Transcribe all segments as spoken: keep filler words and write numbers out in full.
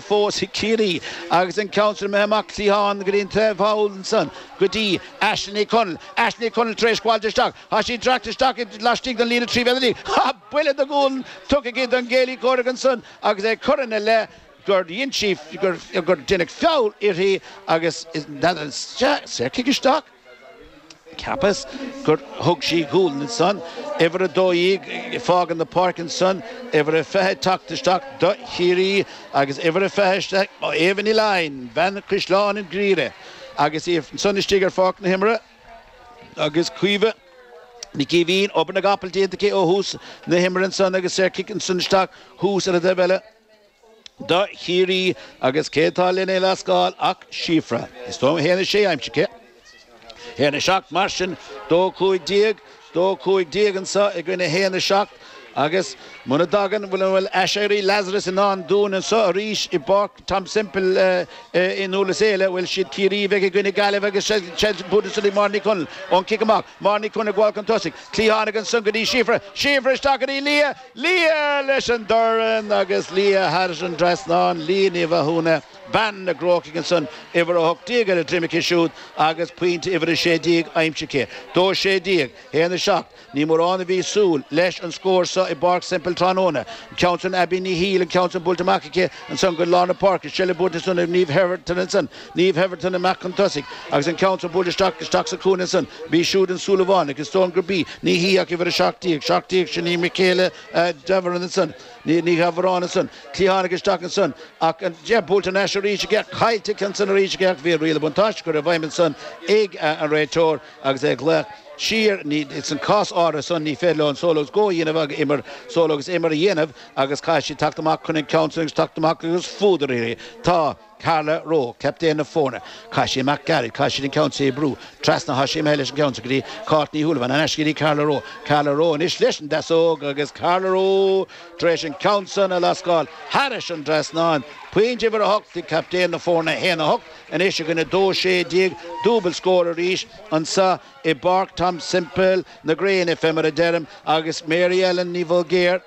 Fós ag Ciarraí agus an ceann sin imithe amach cliathán go dtí an taobh thall ansan go dtí Aisling Ní Chonaill. Aisling Ní Chonaill tar éis gabháilt isteach. Tá sí dreaptha isteach laistigh den líne trí mhéadar déag. Tá buille de ghualainn tugtha aici don gcéile comhraic ansan agus é curtha ina leith gur dhein sí, gur deineadh feall uirthi agus n'fheadar an saorchic isteach? Cheapas gur thug sí gualainn ansan. Uimhir a dó dhéag ag fágaint na páirce ansan, uimhir a fiche ag teacht isteach do Chiarraí agus uimhir a fiche isteach, Éabha Ní Laighin, bean Chaisleán an Ghriaire agus í ansan istigh ar pháirc na himeartha agus Caoimhe Nic Aoibhín, obair na gcapall déanta aici ó thús na himeartha ansan agus saorchic ansan isteach thuas ar an dtaobh eile. Do Chiarraí agus cé atá len é lascáil ach Síofra. Is dóigh liom a haon a sé aimsithe aici. Haon a seacht mar sin, dó cúig déag, dó cúig déag anseo i gcoinne haon a seacht agus muna dtagann, bhfuil an bhfuil aiséirí Lazarus i ndán dúinn anseo arís i bPáirc Tom Semple i nDurlas Éile, bhuel siad Ciarraí a bheidh i gcoinne Gaillimh agus seilbh buaite ansan ag Máire Ní Chonaill ón cic amach, Máire Ní Chonaill ag gabháil chun tosaigh, cliathán ansan go dtí Síofra, Síofra isteach go dtí Lia, Lia leis an dorn agus Lia thar an dtrasnán, Lia Ní Mhathúna, bean na gCrócaigh ansan, uimhir a hocht déag ar a droim aici siúd agus pointe uimhir a sé déag aimsithe aici. Dó sé déag, haon a seacht. Ní mórán a bhí ag súil leis an scór seo i bPáirc Semple tráthnóna. An ceann san Abbie Ní Shiail, an ceann san buailte amach aici ansan go lár na páirce. Seilbh buaite ansan ag Niamh Hetherton ansan. Niamh Hetherton amach chun tosaigh agus an ceann san buailte isteach isteach sa chúinne ansan. Bhí siúd an Súilleabhánach, is dóigh liom gurb í, ní hí ach uimhir a seacht déag, seacht déag, sin í Michaela Davoren ansan, Ní Dhabhráin ansan, cliathánach isteach ansan ach an yeah buailte thar n-ais arís aici ach caillte aici ansan arís aici ach bhí an riail buntáiste curtha i bhfeidhm ansan ag an réiteoir agus é ag glaoch siar. Ní san cás áirithe san ní féidir leo an solo agus go a dhéanamh ach imir solo agus imir a dhéanamh agus caithfidh siad teacht amach chun an ceann san agus teacht amach agus fuadar uirthi. Tá. Carla Rowe, captaen na foirne. Chaith sí amach gairid, chaith siad an ceann sí a bhrú trasna, tá sí imithe leis an gceann seo go dtí Cáit Ní Shúilleabháin, thar n-ais go dtí Carla Rowe. Carla Rowe anois leis an deasóg agus Carla Rowe tar éis an ceann san a lascáil thairis an dtrasnán. Pointe uimhir a hocht ag captaen na foirne, a haon a hocht anois i gcoinne dó sé déag. Dúbailt scór arís anseo i bPáirc Tom Semple na gréine, fé mar a deirim, agus Mary Ellen Ní Bhulgair.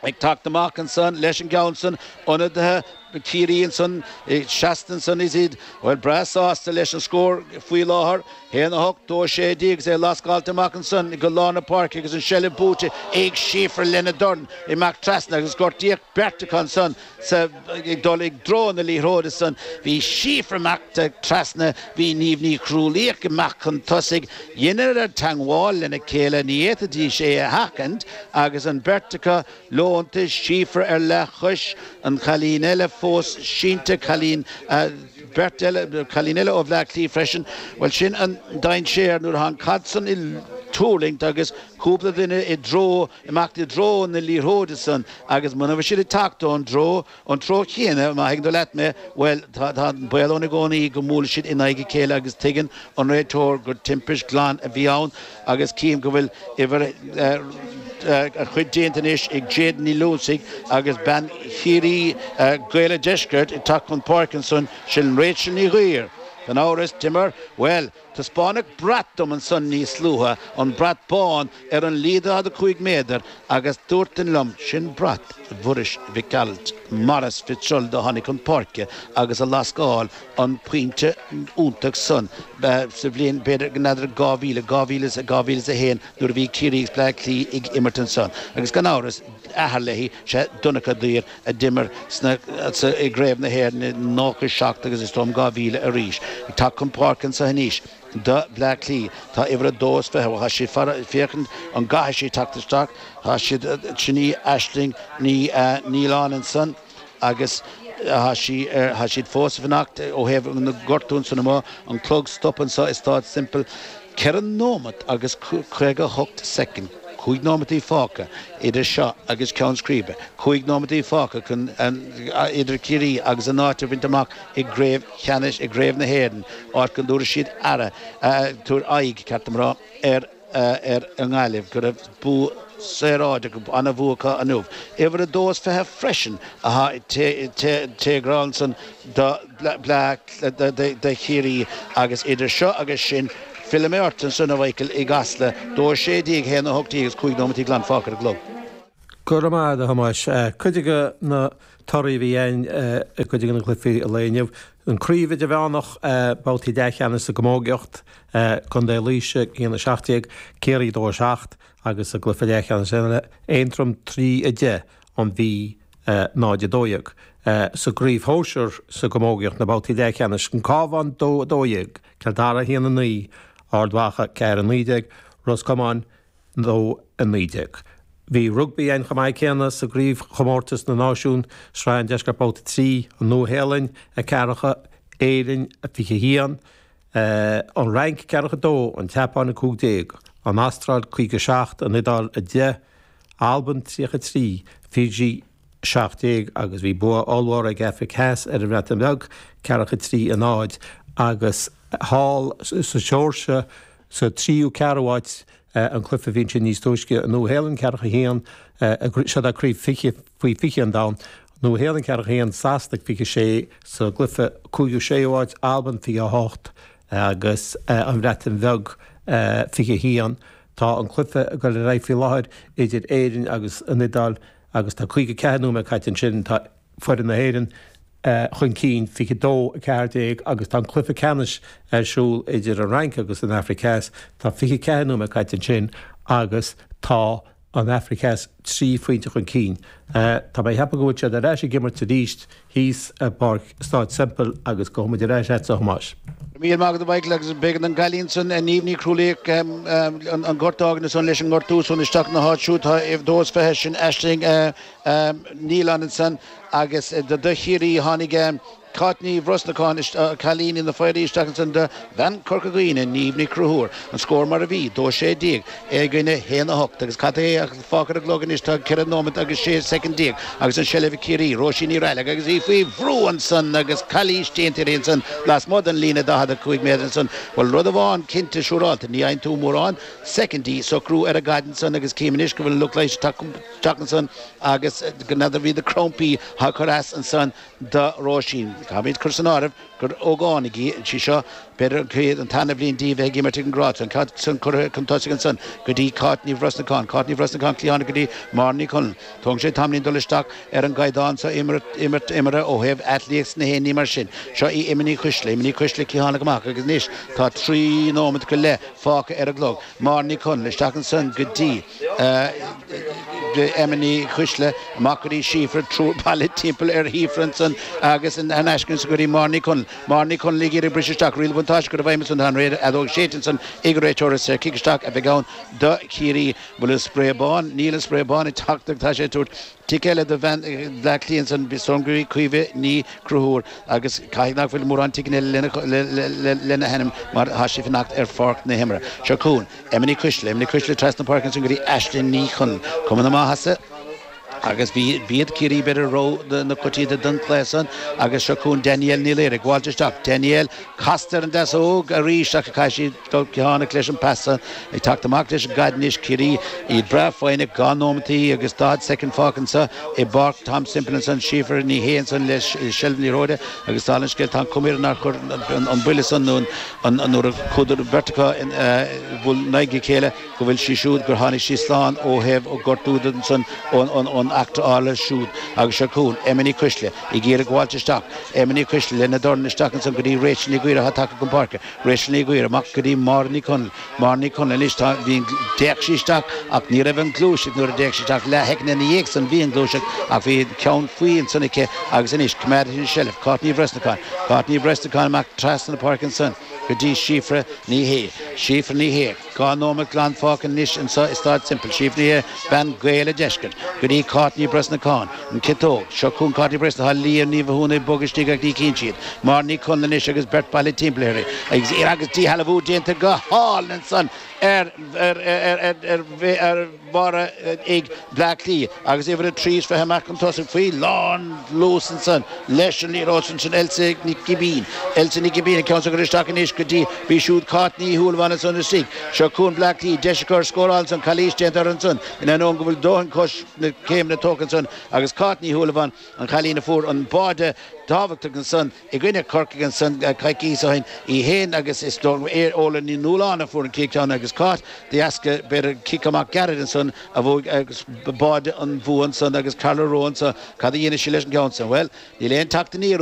Ag teacht amach ansan leis an gceann san, ionadaithe Chiarraí ansan, seasta ansan is iad, bhuel, breá sásta leis an scór faoi láthair, haon a hocht, dó a sé déag agus é lascáilte amach ansan go lár na páirce agus an seilbh buaite ag Síofra lena dorn amach trasna agus gortaíodh beirt acu ansan sa, ag dul i dtreo na liathróide san. Bhí Síofra amach trasna, bhí Niamh Ní Chrualaoich amach chun tosaigh, dheineadar teangmháil lena chéile, ní fhéadfaidís é a sheachaint agus an bheirt acu leonta, Síofra ar leathchois, an cailín eile fós sínte, cailín, beirt eile, cailín eile ó Bhleá Cliath freisin. Bhuel, sin an dainséar nuair atá an caid san ag tuirlingt agus cúpla duine i dtreo, imeacht i dtreo na liathróide san agus muna bhfuil siad ag teacht ón dtreo, an treo chéanna, má thuigeann tú leat mé, bhuel, tá, tá an baol ann i gcónaí go mbuailfidh siad in aghaidh a chéile agus tuigeann an réiteoir gur timpist glan a bhí ann agus cím go bhfuil uimhir, a chuid déanta anois ag Jade Ní Loinsigh agus bean Chiarraí, Gaeil an Deiscirt ag teacht chun páirce ansan, sin Rachel Ní Ghuidhir. Gan amhras, d'imir, bhuel, Taispeánadh brat dom ansan níos luaithe, an brat bán ar an líne daichead a cúig méadar agus dúirt duine liom, sin brat Mhuiris Mhic Gearailt, Maurice Fitzgerald a tháinig chun páirce agus a lascáil an pointe iontach san sa bhliain b'fhéidir n'fheadar dhá mhíle, dhá mhíle is, dhá mhíle is a haon nuair a bhí Ciarraí agus Bleá Cliath ag imirt ansan. Agus gan amhras, athair léi, sé Donncha Duir a d'imir sna, sa, i gCraobh na hÉireann i nócha seacht agus is dóigh liom dhá mhíle arís. Ag teacht chun páirce anso anois do Bhleá Cliath tá uimhir a dó is fiche, bhuel tá siad fara, féachaint an gcaithfidh sí teacht isteach, tá siad, sin í Aisling Ní Nialláin ansan agus tá sí ar, tá siad fós ag fanacht ó thaobh na gortú ansan amuigh, an clog stop anso i Staid Semple. Ceithre nóimeat agus caoga a hocht soicind. Cúig nóimeataí fágtha idir seo agus ceann scríbe. Cúig nóimeataí fágtha chun idir Ciarraí agus a n-áit a bhaint amach i gcraobh cheannais, i gcraobh na hÉireann, áit go dtabharfaidh siad aire, tabhair aghaidh, ceart dom a rá, ar ar an nGaillimh, go raibh bua saoráideach, an-bhua acu inniu. Uimhir a dó is fiche freisin atá ag téagartha ansan do Bleá do Chiarraí agus idir seo agus sin, Fillfidh mé ort ansan, a Mhichael, i gCasla, dó a sé déag, a haon a hocht déag agus cúig nóimeataí glan fágtha ar an gclog. Go raibh maith agat, a Thomáis. Cuid de na torthaí a bhí ann i gcuid de na cluichí an lae inniu. An Craobh Idirmheánach, babhtaí leathcheannais sa gcamógaíocht, Contae Laoise a haon a seacht déag, Ciarraí dó a seacht agus sa gcluiche leathcheannais eile, Aontroim trí a deich, an Mhí náid a dó dhéag. Sa gcraobh shóisir sa gcamógaíocht, na babhtaí leathcheannais, An Cabhán dó a dó dhéag, Cill Dara a haon a naoi, Ard Mhacha ceathair a naoi déag, Ros Comáin dó a naoi déag. Bhí rugbaí ann chomh maith céanna sa gcraobhchomórtas na náisiún, Sraith an Deiscirt Babhta trí, an Nua-Shéalainn a ceathracha, Éirinn a fiche haon, an Fhrainc ceathracha dó, an tSeapáin a cúig déag, an Astráil caoga seacht, an Iodáil a deich, Albain tríocha trí, Fiji seacht déag agus bhí bua ollmhór ag Afraic Theas ar an Bhreatain Bheag, ceathracha trí a náid, agus thall sa Seoirsia sa tríú ceathrú háit, an cluiche a bhí ansin níos túisce, an Nua-Shéalainn ceathracha haon, seo é craobh fiche faoi fiche an domhain, Nua-Shéalainn ceathracha haon, Sasana fiche sé, sa gcluiche cúigiú séú háit, Albain fiche a hocht agus an Bhreatain Bheag fiche haon. Tá an cluiche ag dul ar aghaidh faoi láthair idir Éirinn agus an Iodáil agus tá caoga ceathair nóiméad caite ansin. Tá foireann na hÉireann chun cinn fiche dó, a ceathair déag agus tá an cluiche ceannais ar siúl idir an Fhrainc agus an Afraic Theas. Tá fiche ceathair nóiméad caite ansin agus tá an Afraic Theas trí phointe chun cinn. Tá mé ag ceapadh go bhfuil siad ar ais ag imirt arís thíos i bPáirc Stáid Semple agus gabhfaidh muid ar ais agatsa, a Thomáis. Míle maith agat, a Mhichael, agus b'éigean don gcailín san, Niamh Ní Chrualaoich, an gort a fhágaint ansan leis an ngortú san isteach ina háit siúd. Tá dó is fiche, sin Aisling Nealon ansan agus do Chiarraí tháinig Cáit Ní Bhrosnacháin, cailín na Foirrí, isteach ansan do bhean Chorca Dhuibhne, Niamh Ní Chonchúir. An scór mar a bhí, dó sé déag i gcoinne haon a hocht agus cad é atá fágtha ar an gclog anois? Tá ceithre nóiméad agus sé soicind déag agus an seilbh ag Ciarraí. Róisín Ní Raghallaigh agus í faoi bhrú ansan agus calaois déanta uirthi ansan lasmuigh den líne daichead a cúig méadar ansan. Bhuel, rud amháin cinnte siúrálta, ní fhaigheann tú mórán soicindí socrú ar an gcaid ansan agus cím anois go bhfuil an lucht leighis ag teacht ansan agus go n'fheadar bhí na crampaí á cur as ansan do Róisín. Caithfimid cur san áireamh gur ógánaigh í sí seo, b'fhéidir an chéad, an tarna bhliain di bheith ag imirt ag an ngrád seo. An ceann san curtha chun tosaigh ansan go dtí Cáit Ní Bhrosnacháin. Cáit Ní Bhrosnacháin cliathánach go dtí Máire Ní Chonaill. Tógann sé tamaillín dul isteach ar an gcaighdeán seo imirt, imirt, imeartha ó thaobh athléimneacht 's na haon ní mar sin. Seo í Emma Ní Choisle. Emma Ní Choisle cliathánach amach agus anois tá trí nóimeat go leith fágtha ar an gclog. Máire Ní Chonaill isteach ansan go dtí Emma Ní Choisle, amach go dtí Síofra, triúr bailithe timpeall ar Shíofra ansan agus in aisce ansan go dtí Máire Ní Chonaill. Máire Ní Chonaill ag iarraidh briseadh isteach, riail bhuntáiste curtha i bhfeidhm ansan, tá an fheadóg séidte ansan ag an réiteoir is cic isteach a bheidh ann do Chiarraí. Bhfuil an spré bán? Níl an spré bán ag teacht ach tá sé ag tabhairt cic eile do bhean Bhleá Cliath ansan, is dóigh liom gurb í Caoimhe Ní Chonchúir agus caithfidh nach bhfuil mórán ticeanna eile lena hainm mar tá sí ag fanacht ar pháirc na himeartha. Seo chugainn Emma Ní Choisle, Emma Ní Choisle trasna páirce ansan go dtí Aisling Ní Chonaill. Cuma na maitheasa agus bhí b'iad Ciarraí b'fhéidir rogha na coitianta don chluiche san agus seo chugainn Danielle Ní Laoire ag gabháilt isteach. Danielle casta ar an deasóg arís ach caithfidh sí dul cliathánach leis an pas san. Ag teacht amach leis an gcaid anois Ciarraí, iad breá foighneach, dhá nóimeataí agus daichead soicind fágtha anso i bPáirc Tom Semple ansan. Síofra Ní Shé ansan le seilbh na liathróide agus dála an scéil tá an chuma uirthi nár chuir an buille san nó an nuair a chuadar beirt acu bhuail in aghaidh a chéile go bhfuil sí siúd gur tháinig sí slán ó thaobh gortú de ansan ón eachtra álainn siúd agus seo chugainn Emma Ní Choisle ag iarraidh gabháilt isteach Emma Ní Choisle lena dorn isteach ansan go dtí Rachel Ní Ghaora atá tagtha chun páirce Rachel Ní Ghaora amach go dtí Máire Ní Chonaill Máire Ní Chonaill anois tá bhí an d'fhéach sí isteach ach ní raibh an ghluaiseacht nuair a d'fhéach sí isteach leathshoicind ina dhiaidh san bhí an ghluaiseacht ach bhí an ceann faoi ansan aici agus anois coimeádfaidh an tseilbh Cáit Ní Bhreisleacáin Cáit Ní Bhreisleacáin amach trasna na páirce ansan go dtí Síofra Ní Shé Síofra Ní Shé Dhá nóiméad glan fágtha anois anso i Staid Semple. Síofra Ní Shé, bean Ghaeil a' Deiscirt, go dtí Cáit Ní Bhrosnacháin, an chiotóg. Seo chugainn Cáit Ní Bhreisleacháin, tá Liadh Ní Mhathúna ag bogadh istigh ach ní chíonn siad. Máire Ní Chonaill anois agus beirt bailithe timpeall uirthi. Agus agus díshealbhú déanta go hálainn ansan ar ar ar ar ar ar Mháire ag Bleá Cliath agus uimhir a trí is fiche amach chun tosaigh faoi lán luas ansan leis an liathróid sin sin Elsa Nic Gibbín. Elsa Nic Gibbín an ceann san curtha isteach anois go dtí bhí siúd Cáit Ní Shúilleabháin ansan istigh. Seo Seo chugainn Bleá Cliath deis acu scóráil ansan calaois déanta ansan in ainneoin go bhfuil dóthain cois na céimeanna tógtha ansan agus Cáit Ní Shúilleabháin an chailín a fuair an báide tábhachtach ansan i gcoinne Corcaigh ansan coicís ó shin í féin agus is Óla Ní Nualláin a fuair an chéad agus Cáit de dheasca b'fhéidir cic amach gairid ansan a bhuaigh agus báide an bhua ansan agus Carla Rowan sa cad a dhéanfaidh sí leis an gceann san. Well, níl aon teacht aniar